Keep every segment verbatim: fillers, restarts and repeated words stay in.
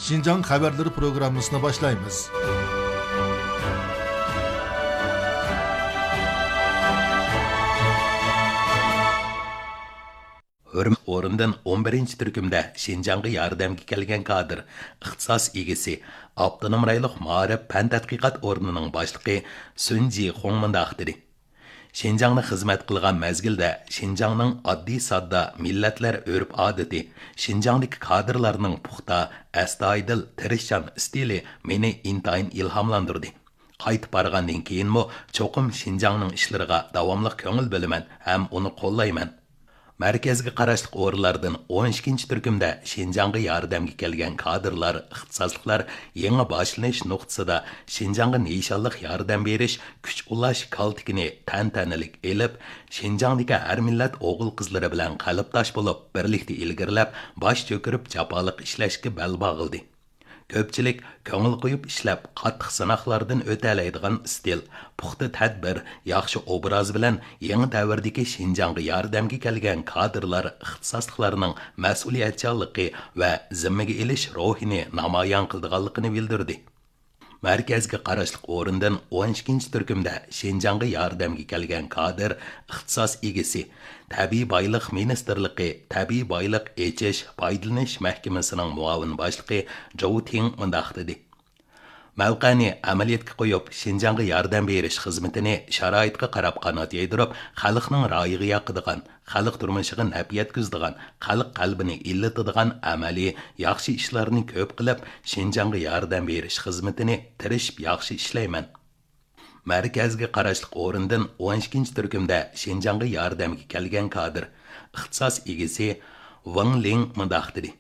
شىنجاڭ خەۋەرلىرى پروگراممىسىنى باشلايمىز. ھۆرمەت ئورنىدىن ئون بىرىنچى تۈركۈمدە شىنجاڭغا ياردەمگە كەلگەن كادىر، ئىختىساس ئىگىسى، ئاپتونوم رايونلۇق مائارىپ پەن تەتقىقات ئورنىنىڭ باشلىقى سۈن جىخۇڭ مۇنداق دېدى: شىنجاڭدا خىزمەت قىلغان مەزگىلدە شىنجاڭنىڭ ئاددىي ساددا مىللەتلەر ئۆرپ-ئادىتى، شىنجاڭدىكى كادىرلارنىڭ پۇختا، ئەستايىدىل، تىرىشچان ئىستىلى مېنى ئىنتايىن ئىلھاملاندۇردى. قايتىپ بارغاندىن كېيىنمۇ چوقۇم شىنجاڭنىڭ ئىشلىرىغا داۋاملىق كۆڭۈل بۆلىمەن ھەم ئۇنى قوللايمەن. مەركەزگە قاراشلىق ئورۇنلاردىن ئون ئىككىنچى تۈركۈمدە شىنجاڭغا ياردەمگە كەلگەن كادىرلار، ئىختىساسلىقلار يېڭى باشلىنىش نۇقتىسىدا شىنجاڭغا نىشانلىق ياردەم بېرىش، كۈچ ئۇلاش كالتىكىنى تەنتەنىلىك ئېلىپ، شىنجاڭدىكى ھەر مىللەت ئوغۇل-قىزلىرى بىلەن قەلبداش بولۇپ، بىرلىكتە ئىلگىرىلەپ، باش چۆكۈرۈپ جاپالىق ئىشلەشكە بەل باغلىدى. كۆپچىلىك كۆڭۈل قويۇپ ئىشلەپ، قاتتىق سىناقلاردىن ئۆتەلەيدىغان ئىستىل، پۇختا تەدبىر، ياخشى ئوبراز بىلەن يېڭى دەۋردىكى شىنجاڭغا ياردەمگە كەلگەن كادىرلار، ئىختىساسلىقلارنىڭ مەسئۇلىيەتچانلىقى ۋە زىممىگە ئېلىش روھىنى نامايان قىلىدىغانلىقىنى بىلدۈردى. مەركەزگە قاراشلىق ئورۇندىن ئون ئىككىنچى تۈركۈمدە شىنجاڭغا ياردەمگە كەلگەن كادىر، ئىختىساس ئىگىسى، تەبىئىي بايلىق مىنىستىرلىقى تەبىئىي بايلىق ئېچىش، پايدىلىنىش مەھكىمىسىنىڭ مۇئاۋىن باشلىقى جوۋ تىڭ مۇنداق دېدى: مەۋقەنى ئەمەلىيەتكە قويۇپ، شىنجاڭغا ياردەم بېرىش خىزمىتىنى شارائىتقا قاراپ قانات يايدۇرۇپ، خەلقنىڭ رايىغا ياقىدىغان، خەلق تۇرمۇشىغا نەپ يەتكۈزىدىغان، خەلق قەلبىنى ئىللىتىدىغان ئەمەلىي، ياخشى ئىشلارنى كۆپ قىلىپ، شىنجاڭغا ياردەم بېرىش خىزمىتىنى تىرىشىپ ياخشى ئىشلەيمەن. مەركەزگە قاراشلىق ئورۇندىن ئون ئىككىنچى تۈركۈمدە شىنجاڭغا ياردەمگە كەلگەن كادىر، ئىختىساس ئىگىسى ۋېڭ لىڭ مۇنداق دېدى: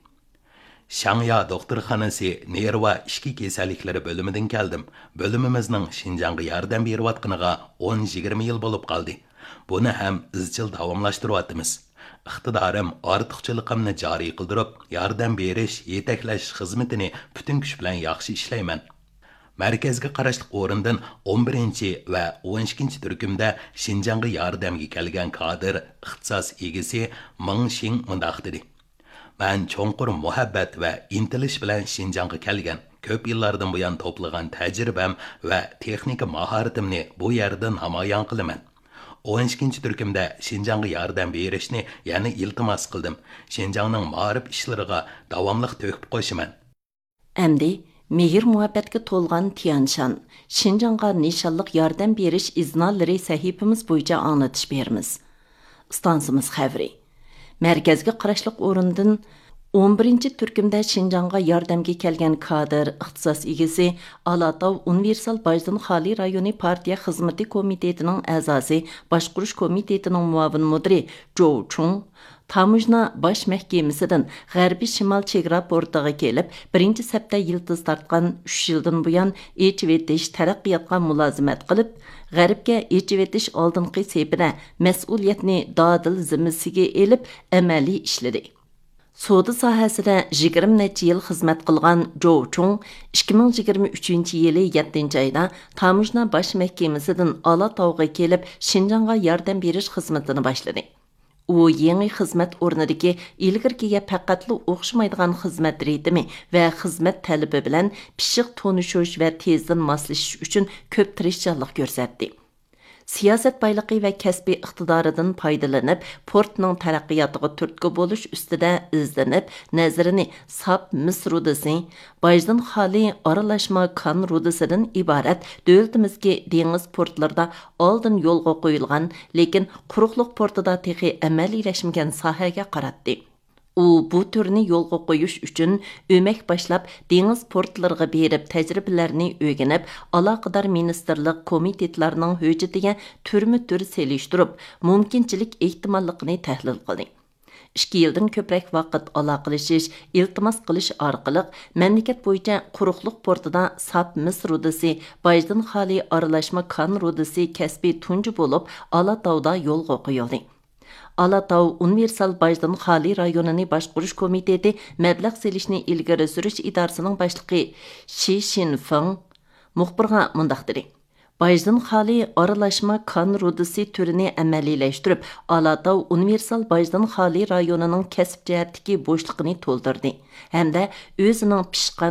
شاڭيا دوختۇرخانىسى نېرۋا ئىچكى كېسەللىكلىرى بۆلۈمىدىن كەلدىم. بۆلۈمىمىزنىڭ شىنجاڭغا ياردەم بېرىۋاتقىنىغا ئون يىگىرمە يىل بولۇپ قالدى. بۇنى ھەم ئىزچىل داۋاملاشتۇرۇۋاتىمىز. ئىقتىدارىم، ئارتۇقچىلىقىمنى جارى قىلدۇرۇپ، ياردەم بېرىش، يېتەكلەش خىزمىتىنى پۈتۈن كۈچ بىلەن ياخشى ئىشلەيمەن. مەركەزگە قاراشلىق ئورۇندىن ئون بىرىنچى ۋە ئون ئىككىنچى تۈركۈمدە شىنجاڭغا ياردەمگە كەلگەن كادىر، ئىختىساس ئىگىسى مېڭ شىڭ مۇنداق دېدى: مەن چوڭقۇر مۇھەببەت ۋە ئىنتىلىش بىلەن شىنجاڭغا كەلگەن. كۆپ يىللاردىن بۇيان توپلىغان تەجرىبەم ۋە تېخنىكا ماھارىتىمنى بۇ يەردە نامايان قىلىمەن. ئون ئىككىنچى تۈركۈمدە شىنجاڭغا ياردەم بېرىشنى يەنە ئىلتىماس قىلدىم. شىنجاڭنىڭ مائارىپ ئىشلىرىغا داۋاملىق تۆھپە قوشىمەن. ئەمدى مېھىر-مۇھەببەتكە تولغان تيەنشان، شىنجاڭغا نىشانلىق ياردەم بېرىش ئىزنالىرى سەھىپىمىز بويىچە ئاڭلىتىش بېرىمىز. ئىستانسىمىز خەۋىرى. مەركەزگە قاراشلىق ئورۇندىن ئون بىرىنچى تۈركۈمدە شىنجاڭغا ياردەمگە كەلگەن كادىر، ئىختىساس ئىگىسى، ئالاتاۋ ئۇنىۋېرسال باجدىن خالىي رايونى پارتىيە خىزمىتى كومىتېتىنىڭ ئەزاسى، باشقۇرۇش كومىتېتىنىڭ مۇئاۋىن مۇدىرى جوۋ چۇڭ، تاموژنا باش مەھكىمىسىدىن غەربىي شىمال چېگرا پورتىغا كېلىپ، بىرىنچى سەپتە يىلتىز تارتقان، ئۈچ يىلدىن بۇيان ئېچىۋېتىش تەرەققىياتقا مۇلازىمەت قىلىپ، غەربكە ئېچىۋېتىش ئالدىنقى سېپىدە مەسئۇلىيەتنى دادىل زىممىسىگە ئېلىپ، ئەمەلىي ئىشلىدى. سودا ساھەسىدە يىگىرمە نەچچە يىل خىزمەت قىلغان جوۋ چۇڭ ئىككى مىڭ يىگىرمە ئۈچىنچى يىلى يەتتىنچى ئايدا تاموژنا باش مەھكىمىسىدىن ئالاتاۋغا كېلىپ، شىنجاڭغا ياردەم بېرىش خىزمىتىنى باشلىدى. ئۇ يېڭى خىزمەت ئورنىدىكى ئىلگىرىكىگە پەقەتلا ئوخشىمايدىغان خىزمەت رىتىمى ۋە خىزمەت تەلىپى بىلەن پىششىق تونۇشۇش ۋە تېزدىن ماسلىشىش ئۈچۈن كۆپ تىرىشچانلىق كۆرسەتتى. سىياسەت بايلىقى ۋە كەسپىي ئىقتىدارىدىن پايدىلىنىپ، پورتنىڭ تەرەققىياتىغا تۈرتكە بولۇش ئۈستىدە ئىزدىنىپ، نەزىرىنى ساپ مىس رۇدىسى، باجدىن خالىي ئارىلاشما كان رۇدىسىدىن ئىبارەت دۆلىتىمىزدىكى دېڭىز پورتلىرىدا ئالدىن يولغا قويۇلغان، لېكىن قۇرۇقلۇق پورتىدا تېخى ئەمەلىيلەشمىگەن ساھەگە قاراتتى. ئۇ بۇ تۈرنى يولغا قويۇش ئۈچۈن ئۆمەك باشلاپ، دېڭىز پورتلىرىغا بېرىپ، تەجرىبىلەرنى ئۆگىنىپ، ئالاقىدار مىنىستىرلىق، كومىتېتلارنىڭ ھۆججىتىگە تۈرمە تۈر سېلىشتۇرۇپ، مۇمكىنچىلىك ئېھتىماللىقىنى تەھلىل قىلدى. ئىككى يىلدىن كۆپرەك ۋاقىت ئالاقىلىشىش، ئىلتىماس قىلىش ئارقىلىق، مەملىكەت بويىچە قۇرۇقلۇق پورتىدا ساپ مىس رۇدىسى، باجدىن خالىي ئارىلاشما كان رۇدىسى كەسپى تۇنجى بولۇپ، ئالاتاۋدا يولغا قويۇلدى. ئالاتاۋ ئۇنىۋېرسال باجدىن خالىي رايونىنى باشقۇرۇش كومىتېتى مەبلەغ سېلىشنى ئىلگىرى سۈرۈش ئىدارىسىنىڭ باشلىقى شى شىنفېڭ مۇخبىرغا مۇنداق دېدى: باجدىن خالىي ئارىلاشما كان رۇدىسى تۈرىنى ئەمەلىيلەشتۈرۈپ، ئالاتاۋ ئۇنىۋېرسال باجدىن خالىي رايونىنىڭ كەسىپ جەھەتتىكى بوشلۇقىنى تولدۇردى ھەمدە ئۆزىنىڭ پىشقان